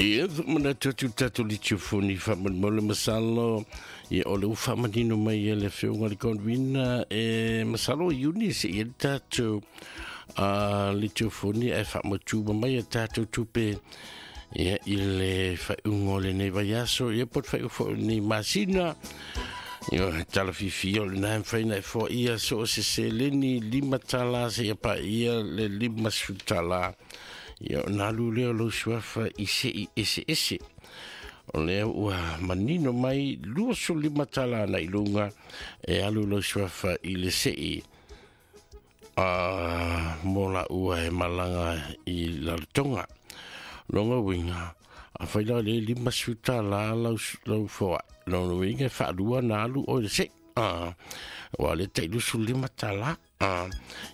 Ia, manatu atu le tatou litiofoni faamolemole masalo, ia o le ua faamanino mai e le afioga le Convena e masalo o Iuni se i le tatou litiofoni ae faamautu mai a tatou tupe ia i le faaiuga o lenei vaiaso, ia po o le faaiuga foi o lenei masina. Ia, tala fiafia o lena e mafai ona e foaia so o se seleni $5 seia paia le $50. Ia, ona alu lea o lou suafa i sei eseese. O lea ua manino mai $25 na i luga e alu lou suafa i le sei mo la ua e malaga i Lalotoga. Longa uiga, a fai la le $50 lau foai, lona uiga e faalua na alu oe le sei. Ua le tai $25.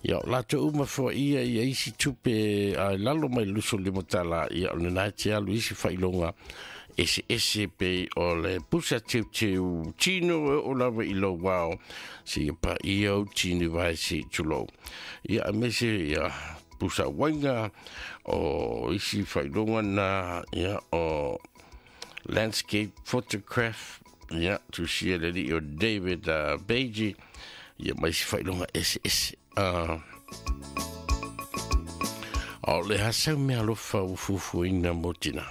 Ia, o latou uma foaia ia isi tupe a lalo mai le $25, ia o lena e te alu isi faailoga ese ese pe o le pusa teuteu tino e o lava i lou ao se ia pa ia o tini vai se tulou. Ia, a mese ia pusa wainga o isi faailoga na, ia o landscape photograph, ia tusia le li o David Beiji, ia mai si faailoga ese ese. O le hasau mea alofa ua fuafuaina mo tina.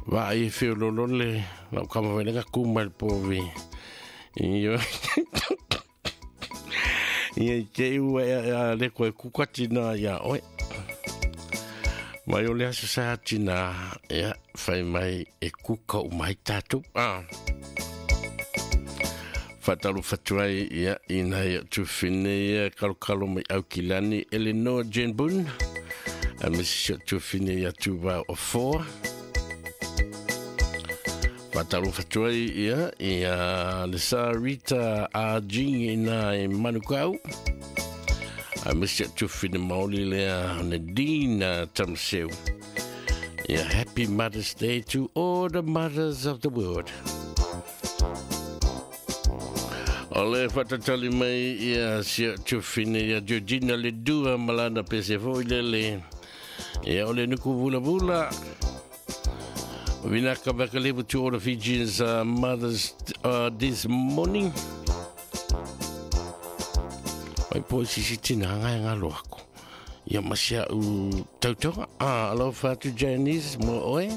Vaai e feololo le lau kama wailenga kuma le povi. Ia ia i te ua e a le koe kuka tina ia oe. Mai o le aso sa tina, ia, whai mai e kuka o mai tātou. Whatalu whatuai, ia, ina ia tuwhine, ia, kalo kalo mai au kilani, Eleanor Jane Boone. A misi o tuwhine ia tūwā o four. Whatalu whatuai, ia, ia, le sa Rita A. Jing ina e Manukau. A misi o tuwhine maoli lea Nadine Tamseu. Yeah, happy Mother's Day to all the mothers of the world. O le whatatali mai ia sia tuwhine ia Georgina le dua malana pese foi lele. Ia o le nuku vula vula. Vinaka vakalevu to all the Fijians mothers this morning. Mai po sisi tina ngai ngā loako. Ia masia u tautoga. Alofa atu Janice mo oe.